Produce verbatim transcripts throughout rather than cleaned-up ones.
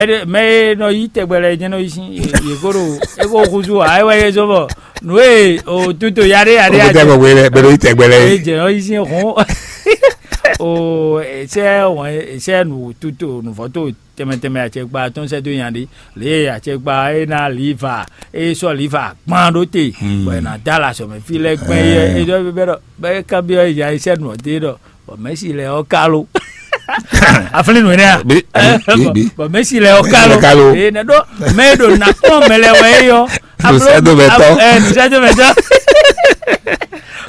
Mɛ e nɔ yí tɛgbɛ lɛ́ɛ jɛ́n nɔ yí sín yě ko ɖo é ko húzú ǎ é wɛ é zɔ́n bɔ nǔ e o tuto yaɖé yaɖé Ó tɛ bɔ wele bɛ ɖo yí tɛgbɛ lɛ é é. Jɛ nɔ yí sín hɔn o sɛ wɔn sɛ nǔ tuto nǔvɔ́ to tɛmɛ tɛmɛ acɛkpa tɔn sɛ dó nya ɖé lě e acɛkpa é ná liva é sɔ́ liva kpan ɖó te bɔ è nǎ dó alɔ azɔ̌ mɛ fí lɛ́ɛ gbɛn é é ɖɔ bɛ ɖɔ bɛ é ká byɔ́ ya é sɛ nǔ ɔ́ dé ɖɔ bɔ mɛ̌si lɛ́ɛ ɔ́ ká lo aflín nǔ énɛ́ a Bí- bí- bí- bí. Bɔ mɛ̌si lɛ́ɛ ɔ́ ká lo Mɛ̌si lɛ́ɛ ká lo. Ee, nɛ ɖó mɛ e ɖo nǎ kplɔ́n mɛ lɛ́ɛ wɛ é ɔ́ Nǔsɛ́dómɛtɔ́. Nǔsɛ́dómɛtɔ́.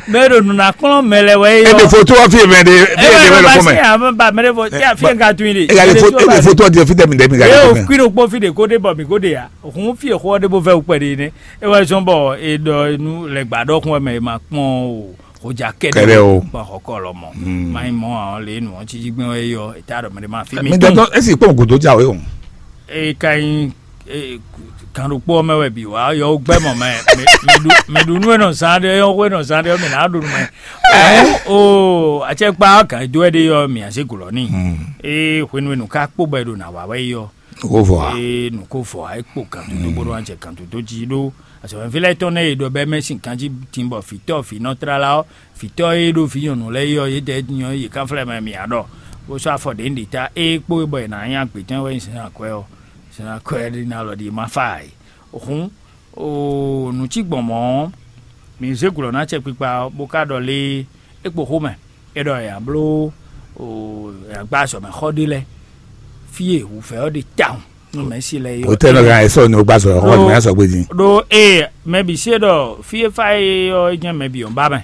Mɛ e ɖo nǔ ná kplɔ́n mɛ lɛ́ɛ wɛ é Ebe ɔ́ foto ɔ́ fi mɛ ɖe fi Ebe ebe wɛ lɔ fɔ mɛ. Ba mɛ ɖe fɔ tí a fi ka tún yi de. Ega le foto ebe foto ɔdi fi tɛ mi dɛ mi ga Ye le o fɔ mɛ. Kui ɖokpó fi ɖe ko ɖe bɔ mi ko ɖe ya. Hun fi exɔ ɖe bo vɛ wukpɛ ɖe nɛ. E wɛ zɔn bɔ e ɖɔ nu lɛ gba ɖɔ kun wɛ mɛ e ma kpɔn o. Xɔja kɛɖɛ Kɛɖɛ o. Kpɔn xɔ kɔ lɔ mɔ. Ma yi mɔ awon le nu ɔn titi gbɛn wɛ yɔ. E ta ɖɔ mɛ ɖe ma fi mi Mi tɔn. Dɔtɔ esi kpɔn godo ja o ye o. E ka nyi e, kan ɖokpó ɔ́ mɛ wɛ bǐ wá yɔ wó gbɛ́ mɔ mɛ. Mi ɖu nú e nɔ zán ɖé yɔ xó e nɔ zán ɖé ɔ́ mi nǎ ɖu nú mɛ. O acɛkpa ɔ́ gǎn e dó wɛ ɖé yɔ mi azé glɔ̌ n'i. Ée hwenu e nǔ ká kpó bɔ è ɖo nǎ wa wɛ é ɔ́, Wó vɔ a? Ée nǔ ko vɔ ǎ é kpo gǎn dodó bó ɖó wá jɛ gǎn dodó jí ɖó azɔ̌mɛví lɛ́ɛ tɔn nɛ́ e ɖɔ bɛ́ mɛ sín ganjí din bɔ vǐtɔ́ vǐnɔ tlala ɔ́, vǐtɔ́ e ɖó vǐ nyɔ̌nu lɛ́ɛ é ɔ́, yědɛɛ nyɔ yě kanflɛ́ mɛ mǐ ǎ ɖɔ bó sɔ́ afɔ ɖě ɖě ta ée kpó e bɔ è nǎ nyí agbětɔ́ wɛ nyí sɛ́n akwɛ́ ɔ́, sɛ́n akwɛ́ ɖi ná lɔ ɖi ma fa ǎ. Hǔn, oo, nǔ cí gbɔn mɔ̌ ɔ́, mǐ zé glɔ̌ ná acɛkpikpa ɔ́, bó ka ɖɔ lé é kpo xó mɛ, é ɖɔ è nǎ bló, oo, è nǎ gbá azɔ̌ mɛ xɔ ɖé lɛ́ɛ, fí e wǔvɛ́ ɔ́ ɖe tawun nú mɛ̌si lɛ́ɛ é ɔ́. Hotɛ́ nɔ gán ɛ sɔ́ ni ó gbá azɔ̌ xɔ ni mɛ sɔgbe din. Ɖó ée mɛ bǐ se ɖɔ fí e fá é ɔ́ é jɛ́n mɛ bǐ ɔ́ ba mɛ.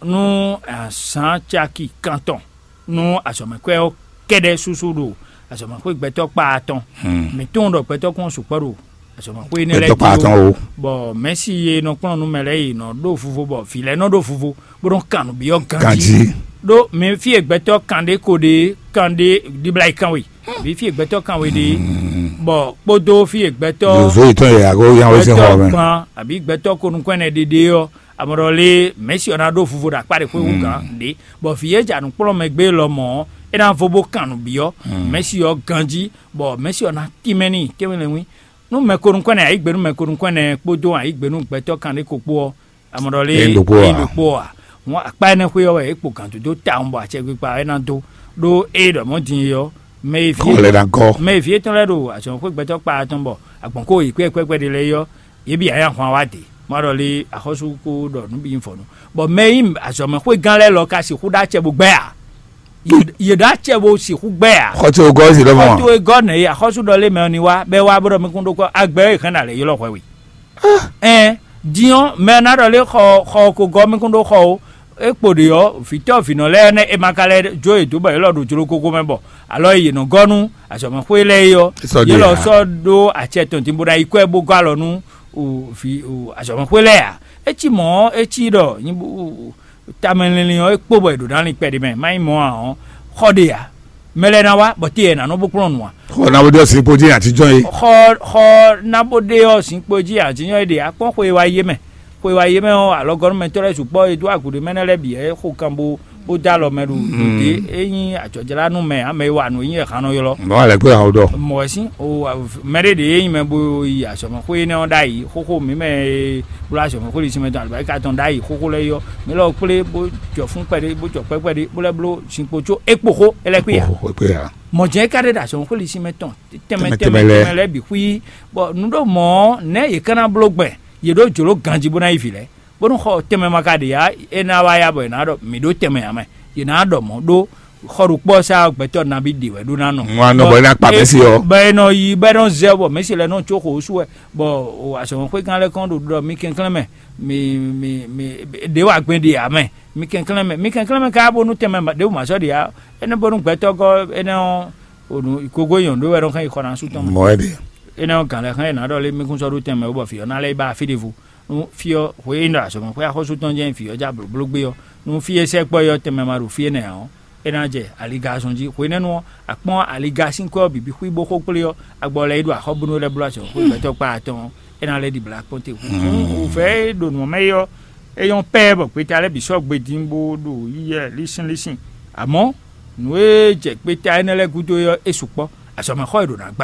Nú azǎn caki kantɔn nú azɔ̌mɛkwɛ́ ɔ́ kɛ́ɖɛ́ súsú ɖo azɔ̌mɛxwé gbɛtɔ́ kpaa tɔn. Mǐ tunwun ɖɔ gbɛtɔ́ kún ɔ́ sukpɔ́ ɖo azɔ̌mɛxwé énɛ́ lɛ́ɛ Gbɛtɔ́ kpaa jí tɔn ó. O. Bɔ mɛ̌si e nɔ kplɔ́n nú mɛ lɛ́ɛ yi nɔ ɖó vuvo bɔ vǐ lɛ́ɛ nɔ ɖó vuvo bó nɔ kan nǔ byɔ́ ganjí. Ganjí. Ɖó mi fí e gbɛtɔ́ kan ɖé ko ɖe kan ɖé ɖibla yi kan we, àbí fí e gbɛtɔ́ kan we ɖe, bɔ kpódó fí e gbɛtɔ́ Zǒ yětɔn e a ko yán wé sín xɔ gbɛtɔ́ mɛ. Gban àbí gbɛtɔ́ ko nukɔn ɛnɛ ɖe ɖe ɔ́, amɔ̌ ɖɔ lé mɛ̌si ɔ́ ná ɖó vuvo ɖo akpá ɖě xwé wú gǎn ɖě, bɔ vǐ e jɛ anǔkplɔ́nmɛ gbé lɔ mɔ̌ ɔ́, é ná vo bó kan nǔ byɔ́ mɛ̌si ɔ́ ganjí, bɔ mɛ̌si ɔ́ ná tínmɛ n'i tɛ́nwe lɛ́nwí. Nú mɛ ko nukɔn ɛnɛ ayǐ gbe nú mɛ ko nukɔn ɛnɛ kpódó ayǐ gbe nú gbɛtɔ́ kan ɖé ko kpó ɔ́, amɔ̌ ɖɔ lé Ényí ɖokpó ényí ǎ. Ɖokpó ɔ́ ǎ. Hǔn akpá énɛ́ xwé ɔ́ wɛ é kpo gǎn dó dó tawun bɔ acɛkpikpa ɔ́ é ná dó, ɖó ée ɖɔ mɔ̌ din é ɔ́, mɛ e ví Kɔ lɛ́ ná gɔ́. Mɛ e ví étɔn lɛ́ɛ ɖo azɔ̌xwé gbɛtɔ́ kpá tɔn bɔ agbɔ̌n kó yě kpɛ́kpɛ́kpɛ́ ɖé lɛ́ɛ é ɔ́, yě bǐ ǎ nyi ahwan wá dě. Má ɖɔ lé axɔ́sú kó ɖɔ nǔ bǐ nyí vɔ̌nu. Bɔ mɛ e nyí azɔ̌mɛxwégán lɛ́ɛ lɔ ka sixú ɖó acɛ bó gbɛ́ ǎ. Yě ɖó acɛ bó sixú gbɛ́ ǎ. Xɔ ce wò gɔ́ zi lɔmɔ. Xɔ towe gɔ́ nɛ̌ é? Axɔ́sú ɖɔ lé mɛ ɔ́ ní wá, bɔ é wá bó ɖɔ mɛ kún ɖó kɔ agbɛ e hɛn ná lɛ̌ ylɔ́ hwɛ we. Ɛn, din ɔ́, mɛ ɔ́ ná ɖɔ lé xɔ xɔ ko gɔ́ mɛ kún ɖó xɔ ó. É kpo ɖě ɔ́, vǐtɔ́ vǐnɔ lɛ́ɛ nɛ́ è ma ka lɛ́ jó yě dó bɔ yě lɔ ɖo jló kókó mɛ bɔ alɔ e yě nɔ gɔ́ nú azɔ̌mɛxwé lɛ́ɛ é ɔ́, Sɔ yě ɖe lɔ ǎ. Sɔ́ ɖó acɛ tɔn din bó ná yi kwɛ́ bó gɔ́ alɔ nú o, vǐ o, azɔ̌mɛxwé lɛ́ɛ ǎ. É cí mɔ̌ ɔ́, é cí ɖɔ nyi bó- tamɛ linlin ɔ́ é kpo bɔ è ɖǒ ná lin kpɛɖé mɛ, má nyí mɔ̌ ǎ ɔ́, xɔ ɖe ǎ. Mɛ lɛ́ɛ ná wá bɔ té yɛ nǎ nɔ bó kplɔ́n nǔ ǎ. Xɔ ná bó ɖe ɔ́ sín kpó jí àtijọ́ é. Xɔ xɔ ná bó ɖe ɔ́ sín kpó jí àtijọ́ é ɖe akpɔ́n xwe wa yé mɛ. Xwe wa yé mɛ ɔ́, alɔgɔ́númɛtɔ́ lɛ́ɛ sukpɔ́ e dó agu ɖé mɛ nɛ́ lɛ́ɛ bǐ é xo kan bó bó dó alɔ mɛ ɖo ɖě é nyí ajɔ̌jlánú mɛ ǎ, mɛ e wa nǔ e nyí ɛhan nɔ ylɔ́. Mɔ̌ wɛ lɛ́ kpé hàn ó ɖɔ. Mɔ̌ wɛ sín o mɛ ɖé ɖě e nyí mɛ bó yi azɔ̌mɛxwé énɛ́ ɔ́ ɖ'ayǐ, xóxó mǐ mɛ e bló azɔ̌mɛxwé ɖisí mɛ tɔn alɔbáyíká tɔn ɖ'ayǐ xóxó lɛ́ɛ yi ɔ́, mǐ lɔ kplé bó jɔ fún kpɛɖé bó jɔ kpɛ́ kpɛɖé bó lɛ́ bló sin kpo có é kpo xó é lɛ́ kpé ǎ. Xó kpé ǎ. Mɔ̌ jɛ́n é ka ɖe ɖo azɔ̌mɛxwé ɖisí mɛ tɔn tɛnmɛ Tɛnmɛ tɛnmɛ tɛnmɛ lɛ́ɛ. Tɛnmɛ lɛ́ɛ bǐ xwí, bɔ nǔ ɖo mɔ̌ nɛ̌ yě ka ná bló gbɛn yě ɖó jlǒ ganjí bó ná yi vǐ lɛ́ɛ, bónú xɔ tɛnmɛ ma ka ɖe ǎ, é ná wá ya bɔ è nǎ ɖɔ mǐ ɖó tɛnmɛ ǎ mɛ, yě ná ɖɔ mɔ̌ ɖó xɔ ɖokpó ɔ́ sá gbɛtɔ́ nabí ɖe wɛ ɖó ná nɔ. Ŋu anɔ bɔ é ná kpa Mɛ̌si ɔ́. Bɔ è nɔ yi bɔ é nɔ zɛ bɔ Mɛ̌si lɛ́ɛ nɔ có xo sú wɛ, bɔ azɔ̌mɛxwékan lɛ́ɛ kɔn ɖo ɖɔ mi kɛnklɛ́n mɛ, mi mi mi ɖě wa gbɛn ɖe ǎ mɛ, mi kɛnklɛ́n mɛ, mi kɛnklɛ́n mɛ káká bónú tɛnmɛ ɖěbǔ ma sɔ́ ɖe ǎ, énɛ́ bónú gbɛtɔ́ gɔ́ énɛ́ ɔ́, o nǔ kogo nyɔ̌nu ɖó wɛ nɔ xɛn yi xɔ ná sú tɔn mɛ. Mɔ̌ wɛ ɖe. Énɛ́ ɔ́ gǎn lɛ́ɛ xlɛ́ è nǎ ɖɔ lé mí kún sɔ́ ɖó tɛnmɛ ó bɔ vǐ ɔ́ ná lɛ́ yi ba fí ɖěvo. Nú fí ɔ́ hwe é nɔ azɔ̌mɛxwé axɔ́sú tɔn jɛ́n vǐ ɔ́ já blǒbló gbé ɔ́, nú fí e sɛkpɔ́ é ɔ́ tɛnmɛ ma ɖo fí énɛ́ ǎ ɔ́, é ná jɛ aliga zɔn jí. Hwenɛ́nu ɔ́, a kpɔ́n aliga sín kwɛ́ ɔ́ bǐ bǐ xwí bó xó kplé ɔ́, a gbɔ lɛ́ yi ɖo axɔ́ bónú lɛ́ bló azɔ̌mɛxwé gbɛtɔ́ kpá atɔn ɔ́, é ná lɛ́ ɖi blǎ kpɔ́n te. Hǔn wǔvɛ́ e ɖo nǔ ɔ́ mɛ é ɔ́, é nyɔ́ pɛ́ bɔ gbeta lɛ́ɛ bǐ sɔ́ gbe dín bó ɖo yíyɛ lísínlísín. Amɔ̌, nǔ e jɛ gbeta énɛ́ lɛ́ɛ gúdo é ɔ́, é sukpɔ́. azɔ̌mɛxɔ e ɖo nǎ gbá.